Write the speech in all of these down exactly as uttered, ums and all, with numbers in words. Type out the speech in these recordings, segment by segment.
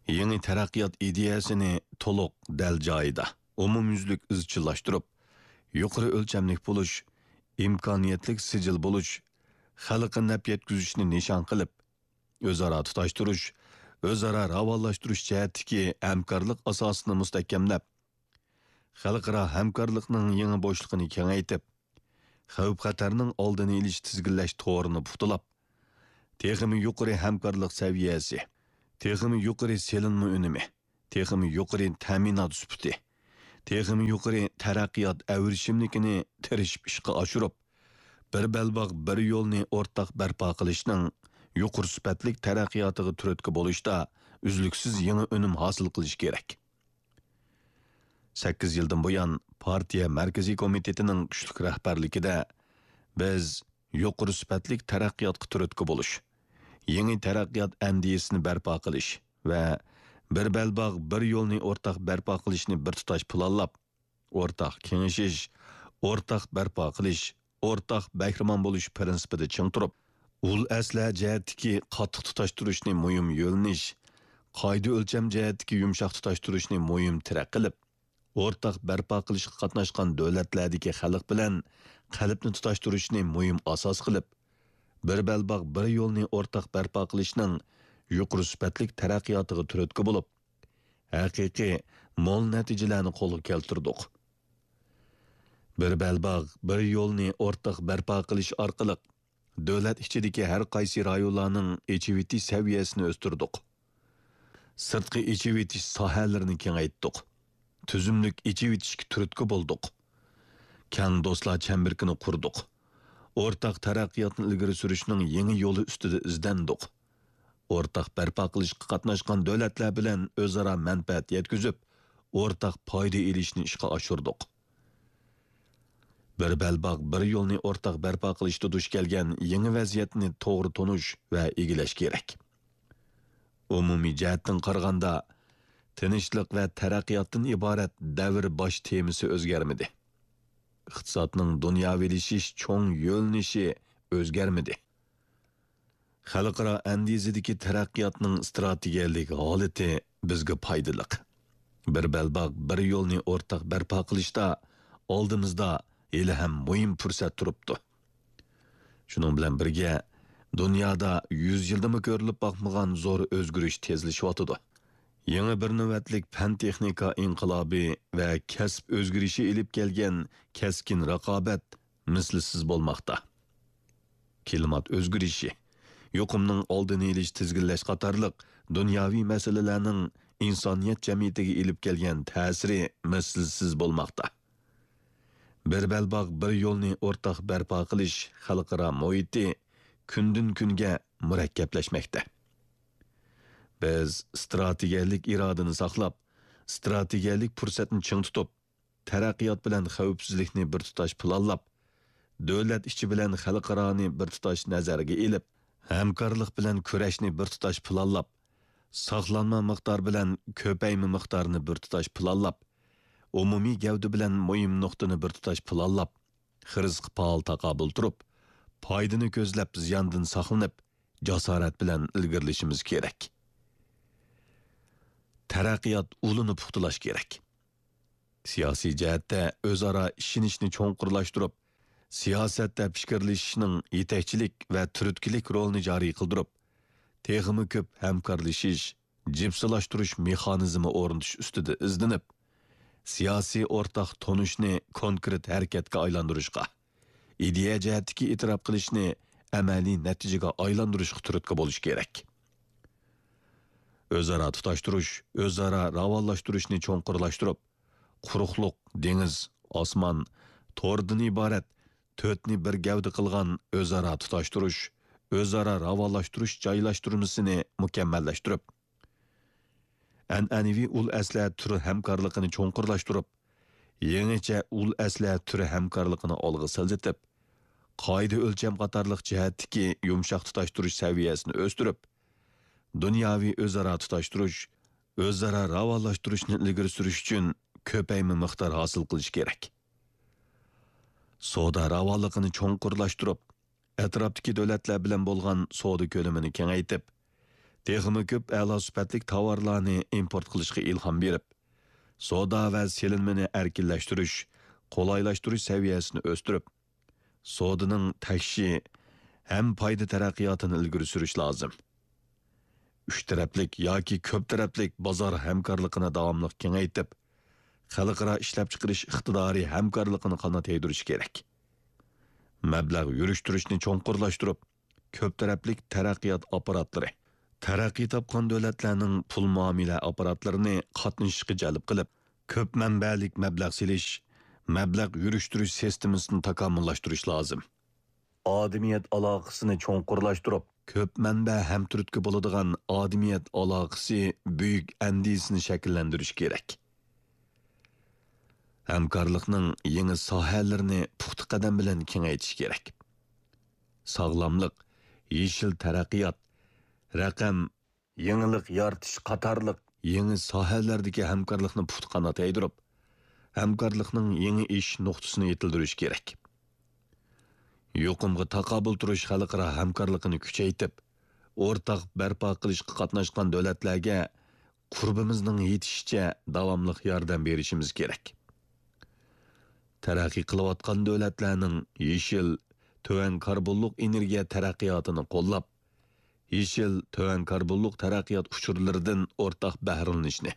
يېڭى تەرەققىيات ئىدىيەسىنى تولۇق، دەل جايىدا، ئومۇميۈزلۈك ئىزچىللاشتۇرۇپ، يۇقىرى ئۆلچەملىك بولۇش، ئىمكانىيەتلىك سىجىل بولۇش، خەلققە نەپ يەتكۈزۈشنى نىشان قىلىپ، ئۆزئارا تۇتاشتۇرۇش، ئۆزئارا راۋانلاشتۇرۇش جەھەتتىكى ھەمكارلىق ئاساسىنى مۇستەھكەملەپ، خەلقئارا ھەمكارلىقنىڭ يېڭى بوشلۇقىنى كېڭەيتىپ، خەۋپ-خەتەرنىڭ ئالدىنى ئېلىش تىزگىنلەش تورىنى پۇختىلاپ، تېخىمۇ يۇقىرى ھەمكارلىق سەۋىيەسى، تېخىمۇ يۇقىرى سېلىنما ئۈنۈمى، تېخىمۇ يۇقىرى تەمىنات سۈپىتى، تېخىمۇ يۇقىرى تەرەققىيات ئەۋرىشىملىكىنى تىرىشىپ ئىشقا ئاشۇرۇپ، بىر بەلباغ، بىر يولنى ئورتاق بەرپا قىلىشنىڭ يۇقىرى سۈپەتلىك تەرەققىياتىغا تۈرتكە بولۇشتا ئۈزلۈكسىز يېڭى ئۈنۈم ھاسىل قىلىش كېرەك. سەككىز يىلدىن بۇيان، پارتىيە مەركىزىي كومىتېتىنىڭ كۈچلۈك رەھبەرلىكىدە، بىز يۇقىرى سۈپەتلىك تەرەققىياتقا تۈرتكە بولۇش، يېڭى تەرەققىيات ئەندىزىسىنى بەرپا قىلىش ۋە بىر بەلباغ، بىر يولنى ئورتاق بەرپا قىلىشنى بىر تۇتاش پىلانلاپ، ئورتاق كېڭىشىش، ئورتاق بەرپا قىلىش، ئورتاق بەھرىمەن بولۇش پىرىنسىپىدا چىڭ تۇرۇپ، ئۇل ئەسلىھە جەھەتتىكى قاتتىق تۇتاشتۇرۇشنى مۇھىم يۆنىلىش، قائىدە ئۆلچەم جەھەتتىكى يۇمشاق تۇتاشتۇرۇشنى مۇھىم تىرەك قىلىپ، ئورتاق بەرپا قىلىشقا قاتناشقان دۆلەتلەردىكى خەلق بىلەن قەلبنى تۇتاشتۇرۇشنى مۇھىم ئاساس قىلىپ، بىر بەلباغ، بىر يولنى ئورتاق بەرپا قىلىشنىڭ يۇقىرى سۈپەتلىك تەرەققىياتىغا تۈرتكە بولۇپ، ھەقىقىي مول نەتىجىلەرنى قولغا كەلتۈردۇق. بىر بەلباغ، بىر يولنى ئورتاق بەرپا قىلىش ئارقىلىق، دۆلەت ئىچىدىكى ھەر قايسى رايونلارنىڭ ئېچىۋېتىش سەۋىيەسىنى ئۆستۈردۇق. سىرتقى ئېچىۋېتىش ساھەلىرىنى كېڭەيتتۇق. تۈزۈملۈك ئېچىۋېتىشكە تۈرتكە بولدۇق. كەڭ دوستلار چەمبىرىكىنى قۇردۇق. ئورتاق تەرەققىياتنى ئىلگىرى سۈرۈشنىڭ يېڭى يولى ئۈستىدە ئىزدەندۇق. ئورتاق بەرپا قىلىشقا قاتناشقان دۆلەتلەر بىلەن ئۆزئارا مەنپەئەت يەتكۈزۈپ، ئورتاق پايدا ئېلىشنى ئىشقا ئاشۇردۇق. بىر بەلباغ، بىر يولنى ئورتاق بەرپا قىلىشتا دۇچ كەلگەن يېڭى ۋەزىيەتنى توغرا تونۇش ۋە ئىگىلەش كېرەك. ئومۇمىي جەھەتتىن قارىغاندا، تىنچلىق ۋە تەرەققىياتتىن ئىبارەت دەۋر باش تېمىسى ئۆزگەرمىدى. ئىقتىسادنىڭ دۇنياۋىلىشىش چوڭ يۆنىلىشى ئۆزگەرمىدى. خەلقئارا ئەندىزىدىكى تەرەققىياتنىڭ ئىستراتېگىيەلىك ھالىتى بىزگە پايدىلىق. بىر بەلباغ، بىر يولنى ئورتاق بەرپا قىلىشتا ئالدىمىزدا ھېلىھەم مۇھىم پۇرسەت تۇرۇپتۇ. شۇنىڭ بىلەن بىرگە، دۇنيادا يۈز يىلدىمۇ كۆرۈلۈپ باقمىغان زور ئۆزگىرىش تېزلىشىۋاتىدۇ. يېڭى بىر نۆۋەتلىك پەن-تېخنىكا ئىنقىلابى ۋە كەسىپ ئۆزگىرىشى ئېلىپ كەلگەن كەسكىن رىقابەت مىسلىسىز بولماقتا. كىلىمات ئۆزگىرىشى، يۇقۇمنىڭ ئالدىنى ئېلىش، تىزگىنلەش قاتارلىق دۇنياۋى مەسىلىلەرنىڭ ئىنسانىيەت جەمئىيىتىگە ئېلىپ كەلگەن تەسىرى مىسلىسىز بولماقتا. بىر بەلباغ، بىر يولنى ئورتاق بەرپا قىلىش خەلقئارا مۇھىتى كۈندىن-كۈنگە مۇرەككەپلەشمەكتە. بىز ئىستراتېگىيەلىك ئىرادىنى ساقلاپ، ئىستراتېگىيەلىك پۇرسەتنى چىڭ تۇتۇپ، تەرەققىيات بىلەن خەۋپسىزلىكنى بىر تۇتاش پىلانلاپ، دۆلەت ئىچى بىلەن خەلقئارانى بىر تۇتاش نەزەرگە ئېلىپ، ھەمكارلىق بىلەن كۈرەشنى بىر تۇتاش پىلانلاپ، ساقلانما مىقدار بىلەن كۆپەيمە مىقدارنى بىر تۇتاش پىلانلاپ، ئومۇمىي گەۋدە بىلەن مۇھىم نۇقتىنى بىر تۇتاش پىلانلاپ، خىرىسقا پائال تاقابىل تۇرۇپ، پايدىنى كۆزلەپ، زىياندىن ساقلىنىپ، جاسارەت بىلەن ئىلگىرىلىشىمىز كېرەك. تەرەققىيات ئۇلىنى پۇختىلاش كېرەك. سىياسىي جەھەتتە ئۆزئارا ئىشىنىشنى چوڭقۇرلاشتۇرۇپ، سىياسەتتە پىكىرلىشىشنىڭ يېتەكچىلىك ۋە تۈرتكىلىك رولىنى جارى قىلدۇرۇپ، تېخىمۇ كۆپ ھەمكارلىشىش، جىپسىلاشتۇرۇش مېخانىزمى ئورنىتىش ئۈستىدە ئىزدىنىپ، سىياسىي ئورتاق تونۇشنى كونكرېت ھەرىكەتكە ئايلاندۇرۇشقا، ئىدىيە جەھەتتىكى ئېتىراپ قىلىشنى ئەمەلىي نەتىجىگە ئايلاندۇرۇشقا تۈرتكە بولۇش كېرەك. ئۆزئارا تۇتاشتۇرۇش، ئۆزئارا راۋانلاشتۇرۇشنى چوڭقۇرلاشتۇرۇپ، قۇرۇقلۇق، دېڭىز، ئاسمان، توردىن ئىبارەت تۆتنى بىر گەۋدە قىلغان ئۆزئارا تۇتاشتۇرۇش، ئۆزئارا راۋانلاشتۇرۇش جايلاشتۇرمىسىنى مۇكەممەللەشتۈرۈپ، ئەنئەنىۋى ئۇل ئەسلىھە تۈرى ھەمكارلىقىنى چوڭقۇرلاشتۇرۇپ، يېڭىچە ئۇل ئەسلىھە تۈرى ھەمكارلىقىنى ئالغا سىلجىتىپ، قائىدە ئۆلچەم قاتارلىق جەھەتتىكى يۇمشاق تۇتاشتۇرۇش سەۋىيەسىنى ئۆستۈرۈپ، دۇنياۋى ئۆزئارا تۇتاشتۇرۇش، ئۆزئارا راۋانلاشتۇرۇشنى ئىلگىرى سۈرۈش ئۈچۈن كۆپەيمە مىقدار ھاسىل قىلىش كېرەك. سودا راۋانلىقىنى چوڭقۇرلاشتۇرۇپ، ئەتراپتىكى دۆلەتلەر بىلەن بولغان سودا كۆلىمىنى كېڭەيتىپ، تېخىمۇ كۆپ ئەلا سۈپەتلىك تاۋارلارنى ئىمپورت قىلىشقا ئىلھام بېرىپ، سودا ۋە سېلىنمىنى ئەركىنلەشتۈرۈش، قولايلاشتۇرۇش سەۋىيەسىنى ئۆستۈرۈپ، سودىنىڭ تەكشى ھەم پايدا تەرەققىياتىنى ئىلگىرى سۈرۈش لازىم. ئۈچ تەرەپلىك ياكى كۆپ تەرەپلىك بازار ھەمكارلىقىنى داۋاملىق كېڭەيتىپ، خەلقئارا ئىشلەپچىقىرىش ئىقتىدارى ھەمكارلىقىنى قانات يايدۇرۇش كېرەك. مەبلەغ يۈرۈشتۈرۈشنى چوڭقۇرلاشتۇرۇپ، كۆپ تەرەپلىك تەرەققىيات ئاپپاراتلىرى، تەرەققىي تاپقان دۆلەتلەرنىڭ پۇل مۇئامىلە ئاپپاراتلىرىنى قاتنىشىشقا جەلپ قىلىپ، كۆپ مەنبەلىك مەبلەغ سېلىش، مەبلەغ يۈرۈشتۈرۈش سىستېمىسىنى تاكامۇللاشتۇرۇش لازىم. ئادىمىيەت ئالاقىسىنى چوڭقۇرلاشتۇرۇپ، كۆپ مەنبە ھەمتۈرتكە بولىدىغان ئادىمىيەت ئالاقىسى بۈيۈك ئەندىزىسىنى شەكىللەندۈرۈش كېرەك. ھەمكارلىقنىڭ يېڭى ساھەلىرىنى پۇختا قەدەم بىلەن كېڭەيتىش كېرەك. ساغلاملىق، يېشىل تەرەققىيات، رەقەم، يېڭىلىق يارىتىش قاتارلىق يېڭى ساھەلەردىكى ھەمكارلىقنى پۇختا قانات يايدۇرۇپ، ھەمكارلىقنىڭ يېڭى ئېشىش نۇقتىسىنى يېتىلدۈرۈش كېرەك. يۇقۇمغا تاقابىل تۇرۇش خەلقئارا ھەمكارلىقىنى كۈچەيتىپ، ئورتاق بەرپا قىلىشقا قاتناشقان دۆلەتلەرگە قۇربىمىزنىڭ يېتىشىچە داۋاملىق ياردەم بېرىشىمىز كېرەك. تەرەققىي قىلىۋاتقان دۆلەتلەرنىڭ يېشىل، تۆۋەن كاربونلۇق ئېنېرگىيە تەرەققىياتىنى قوللاپ، يېشىل، تۆۋەن كاربونلۇق تەرەققىيات ئۇچۇرلىرىدىن ئورتاق بەھرىلىنىشنى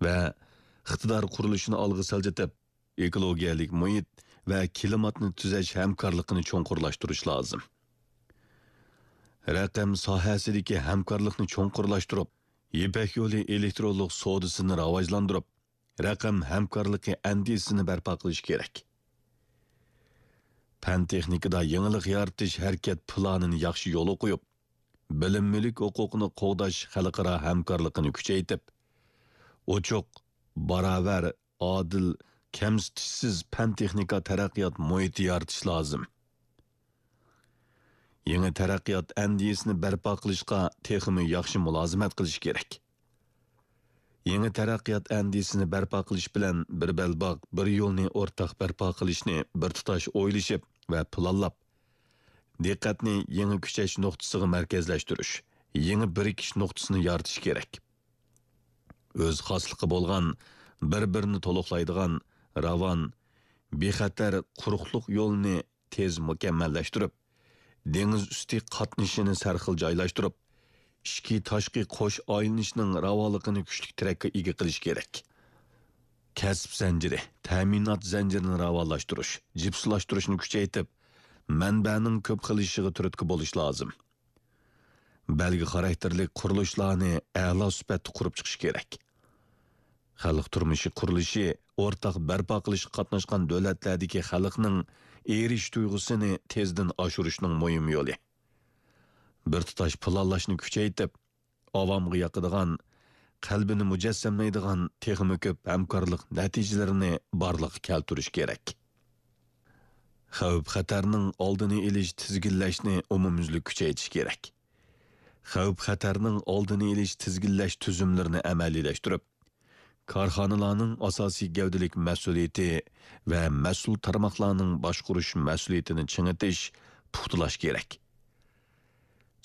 ۋە ئىقتىدار قۇرۇلۇشىنى ئالغا سىلجىتىپ، ئېكولوگىيەلىك مۇھىت ۋە كىلىماتنى تۈزەش ھەمكارلىقىنى چوڭقۇرلاشتۇرۇش لازىم. رەقەم ساھەسىدىكى ھەمكارلىقنى چوڭقۇرلاشتۇرۇپ، يىپەك يولى ئېلېكترونلۇق سودىسىنى راۋاجلاندۇرۇپ، رەقەم ھەمكارلىقى ئەندىزىسىنى بەرپا قىلىش كېرەك. پەن-تېخنىكىدا يېڭىلىق يارىتىش ھەرىكەت پىلانىنى ياخشى يولغا قويۇپ، بىلىم مۈلۈك ھوقۇقىنى قوغداش خەلقئارا ھەمكارلىقىنى كۈچەيتىپ، ئوچۇق، باراۋەر، ئادىل، كەمسىتىشسىز پەن-تېخنىكا تەرەققىيات مۇھىتى يارىتىش لازىم. يېڭى تەرەققىيات ئەندىزىسىنى بەرپا قىلىشقا تېخىمۇ ياخشى مۇلازىمەت قىلىش كېرەك. يېڭى تەرەققىيات ئەندىزىسىنى بەرپا قىلىش بىلەن بىر بەلباغ، بىر يولنى ئورتاق بەرپا قىلىشنى بىر تۇتاش ئويلىشىپ ۋە پىلانلاپ، دىققەتنى يېڭى كۈچەش نۇقتىسىغا مەركەزلەشتۈرۈش، يېڭى بىرىكىش نۇقتىسىنى يارىتىش كېرەك. ئۆز خاسلىقى بولغان، بىر-بىرىنى تولۇقلايدىغان، راۋان، بىخەتەر قۇرۇقلۇق يولىنى تېز مۇكەممەللەشتۈرۈپ، دېڭىز ئۈستى قاتنىشىنى سەرخىل جايلاشتۇرۇپ، ئىچكى، تاشقى قوش ئايلىنىشنىڭ راۋانلىقىنى كۈچلۈك تىرەككە ئىگە قىلىش كېرەك. كەسىپ زەنجىرى، تەمىنات زەنجىرىنى راۋانلاشتۇرۇش، جىپسىلاشتۇرۇشنى كۈچەيتىپ، مەنبەنىڭ كۆپ خىللىشىشىغا تۈرتكە بولۇش لازىم. بەلگە خاراكتېرلىك قۇرۇلۇشلارنى ئەلا سۈپەتتە قۇرۇپ چىقىش كېرەك. خەلق تۇرمۇشى قۇرۇلۇشى ئورتاق بەرپا قىلىشقا قاتناشقان دۆلەتلەردىكى خەلقنىڭ ئېرىشىش تۇيغۇسىنى تېزدىن ئاشۇرۇشنىڭ مۇھىم يولى. بىر تۇتاش پىلانلاشنى كۈچەيتىپ، ئاۋامغا ياقىدىغان، قەلبىنى مۇجەسسەملەيدىغان تېخىمۇ كۆپ ھەمكارلىق نەتىجىلىرىنى بارلىققا كەلتۈرۈش كېرەك. خەۋپ-خەتەرنىڭ ئالدىنى ئېلىش، تىزگىنلەشنى ئومۇميۈزلۈك كۈچەيتىش كېرەك. خەۋپ-خەتەرنىڭ ئالدىنى ئېلىش، تىزگىنلەش تۈزۈملىرىنى ئەمەلىيلەشتۈرۈپ، كارخانىلارنىڭ ئاساسىي گەۋدىلىك مەسئۇلىيىتى ۋە مەسئۇل تارماقلارنىڭ باشقۇرۇش مەسئۇلىيىتىنى چىڭىتىش، پۇختىلاش كېرەك.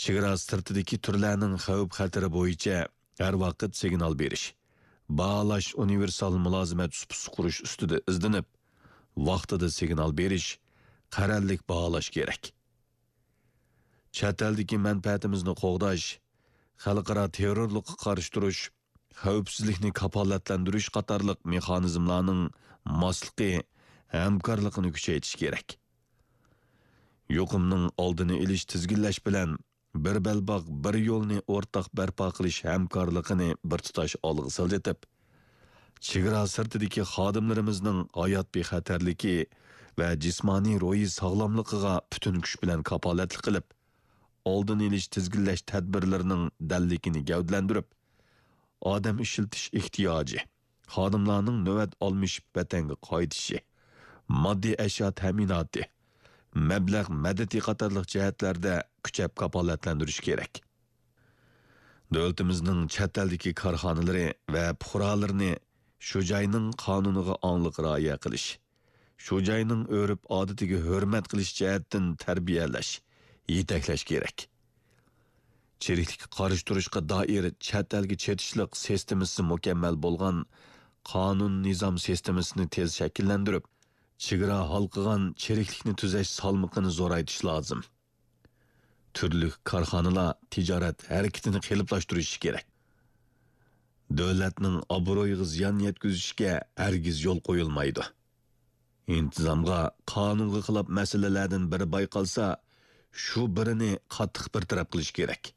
چېگرا سىرتىدىكى تۈرلەرنىڭ خەۋپ-خەتىرى بويىچە ھەر ۋاقىت سىگنال بېرىش، باھالاش ئۇنىۋېرسال مۇلازىمەت سۇپىسى قۇرۇش ئۈستىدە ئىزدىنىپ، ۋاقتىدا سىگنال بېرىش، قەرەللىك باھالاش كېرەك. چەت ئەلدىكى مەنپەئەتىمىزنى قوغداش، خەلقئارا تېررورلۇققا قارشى تۇرۇش، خەۋپسىزلىكنى كاپالەتلەندۈرۈش قاتارلىق مېخانىزملارنىڭ ماسلىقى، ھەمكارلىقىنى كۈچەيتىش كېرەك. يۇقۇمنىڭ ئالدىنى ئېلىش، تىزگىنلەش بىلەن بىر بەلباغ، بىر يولنى ئورتاق بەرپا قىلىش ھەمكارلىقىنى بىر تۇتاش ئالغا سىلجىتىپ، چېگرا سىرتىدىكى خادىملىرىمىزنىڭ ھايات بىخەتەرلىكى ۋە جىسمانىي روھىي ساغلاملىقىغا پۈتۈن كۈچ بىلەن كاپالەتلىك قىلىپ، ئالدىنى ئېلىش، تىزگىنلەش تەدبىرلىرىنىڭ دەللىكىنى گەۋدىلەندۈرۈپ، ئادەم ئىشلىتىش ئېھتىياجى، خادىملارنىڭ نۆۋەت ئالمىشىپ ۋەتەنگە قايتىشى، ماددىي ئەشيا تەمىناتى، مەبلەغ مەدىتى قاتارلىق جەھەتلەردە كۈچەپ كاپالەتلەندۈرۈش كېرەك. دۆلىتىمىزنىڭ چەت ئەلدىكى كارخانىلىرى ۋە پۇقرالىرىنى شۇ جاينىڭ قانۇنىغا ئاڭلىق رىئايە قىلىش، شۇ جاينىڭ ئۆرپ-ئادىتىگە ھۆرمەت قىلىش جەھەتتىن تەربىيەلەش، يېتەكلەش كېرەك. چىرىكلىككە قارشى تۇرۇشقا دائىر چەت ئەلگە چېتىشلىق سىستېمىسى مۇكەممەل بولغان قانۇن-نىزام سىستېمىسىنى تېز شەكىللەندۈرۈپ، چېگرا ھالقىغان چىرىكلىكنى تۈزەش سالمىقىنى زورايتىش لازىم. تۈرلۈك كارخانىلار تىجارەت ھەرىكىتىنى قېلىپلاشتۇرۇشى كېرەك. دۆلەتنىڭ ئابرۇيىغا زىيان يەتكۈزۈشكە ھەرگىز يول قويۇلمايدۇ. ئىنتىزامغا، قانۇنغا خىلاپ مەسىلىلەردىن بىرى بايقالسا، شۇ بىرىنى قاتتىق بىر تەرەپ قىلىش كېرەك.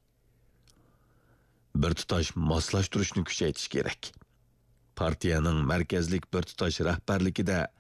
بىر تۇتاش ماسلاشتۇرۇشنى كۈچەيتىش كېرەك. پارتىيەنىڭ مەركەزلىك بىر تۇتاش رەھبەرلىكىدە